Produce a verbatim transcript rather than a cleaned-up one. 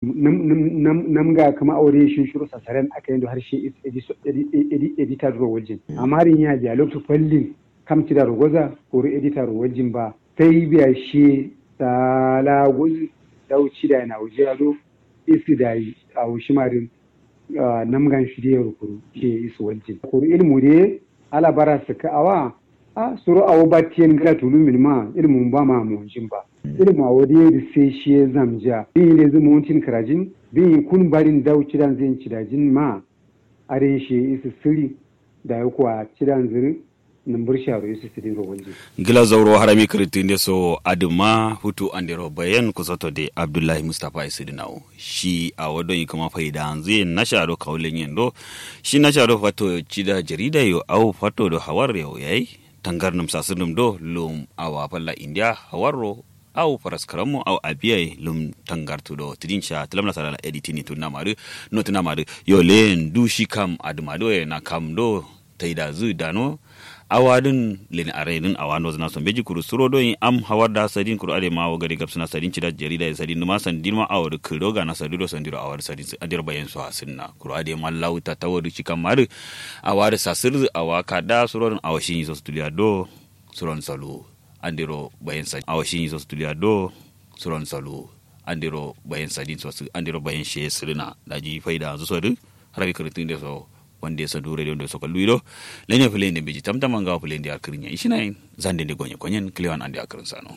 Namga kǝma awo dǝ ye shin shiro sasaren aka yendo har shi edita duro waljin amma dǝ nya biya loktu fallin kam cida ro goza kuru edita ro waljin ba sai biya shi sala gozu dawu cida ye nawu jiya do isi dayi awo shima dǝ namgan shi dǝ ye ro kuru shi ye isi waljin kuru ilmu dǝ ye ala bara sǝkka awa a suro awo battiyen gǝla tulumin ma ilmu ba ma monjin ba ilmu awo dǝ ye dǝ sai shi ye zamjiya biyi lezǝ montin kǝrajin biyi kun barin dawu cidan zin cidajin ma adai shi ye isi sǝri dayi kuwa cidan zǝ dǝ nǝmbǝr sharo isi sǝdin ro waljin. Gǝla zauro harami kǝrǝttǝ nde so adǝ ma futu andero bayen kusoto de abdullahi mustapha ye sǝdǝ nawo shi awo don yi kǝma faidanzǝ ye nasha do kawu lenyen do shi nasha do fato cida jarida yo awo fato do hawar yo yayi tangar nǝm sasǝr nǝm do lum awa falla indiya hawar ro awo faraskaram mo awo abiya ye lum tangar tudo tǝdin sha tǝlam nasara la editini tunna ma dǝ no tunna ma dǝ yo leyen du shi kam adǝ ma do ye na kam do taidazǝ dano awa dǝn leni arai dǝn awa nozǝna so mbeji kuru suro do yi am hawar da sadin kuru adai ma awo gade gabsǝna sadin cida jarida ye sadin dǝma sandin ma awo dǝ kǝdo gana sadu do sandiro awa dǝ sadin andiro bayen so asǝnna kuru adai ma lawu tatawo dǝ shi kam ma dǝ awa dǝ sasǝrdǝ awa kada suro dǝn awo shinyi so sǝtuliya do suron salu andiro bayen sadin awo shinyi so sǝtuliya do suron salu andiro bayen sadin so sǝ andiro bayen shiye sǝrǝna daji faidanzǝ so dǝ harabi kǝrǝntǝ nde so wande so du radio nde so kallu ido lenye fǝle nde mbeji tamtama ngawo fǝle nde yar kǝrǝnya ishinayen zande nde gonye konyen kǝlewan ande akǝrǝn sano.